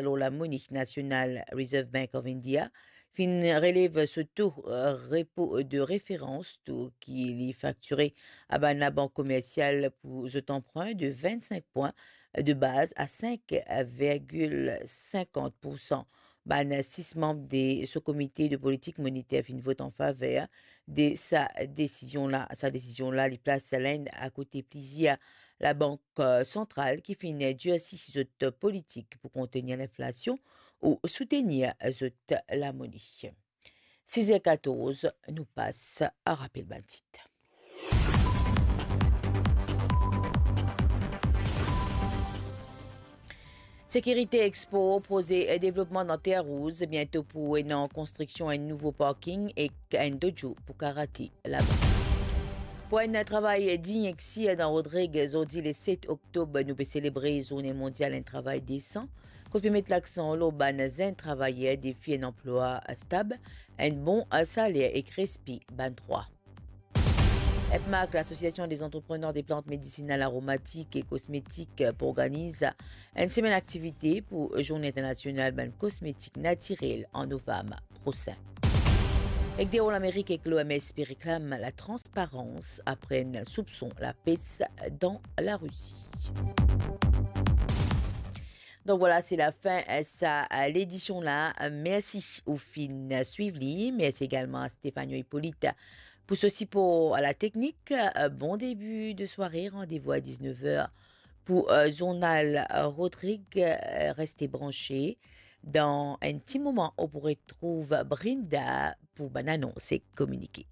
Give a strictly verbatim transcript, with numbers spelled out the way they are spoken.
lor lamone nasional Reserve Bank of India finn relev so to, eh, repo de referans, to ki li faktire a bann labank komersial pou zot anprin de vinn-sink pwin de baz a sink virgil sinkant poursan. Bann sis manm de so komite de politik moniter finn vot an faver de sa desizion la. Sa desizion la, li plas Lenn akote plizier labank, eh, santral ki finn dirsi zot politik pou kontenir linflasion ou soutenir zot lamone. Siz er katorz, nou pas a rapel bann tit. Sekirite Expo, proze devlopman dan Terre Rouge, biento pou ena konstriksion enn nouvo parking ek enn dojo pou karate laba. Pou enn travay dign ek sir dan Rodrig, zordi le set oktob, nou pe selebre Zourne Mondial enn travay desan. Kot pe met laksan lor bann zenn travayer defi enn anplwa stab, enn bon saler ek respe bann drwa. EPMAC, l'Association des Entrepreneurs des Plantes Médicinales Aromatiques et Cosmétiques, pe organiz enn semenn aktivite pou Zourne Internasional bann Kosmetik Natirel an novam prosin. Ek Dehor Lamerik ek l'O M S pe reklam latransparans apre enn soupson lapes dan Larisi. Donk vwala, se lafin, eh, sa, eh, ledision la. Eh, mersi ou finn swiv li. Mersi egalman a Stefano Hippolyte pou so sipor a lateknik. Eh, bon debi de sware. Randevou a diznef er pou, eh, zournal, eh, Rodrig. Eh, reste branche. Dan enn ti moman, ou pou retrouv Brinda pou bann anons ek kominike.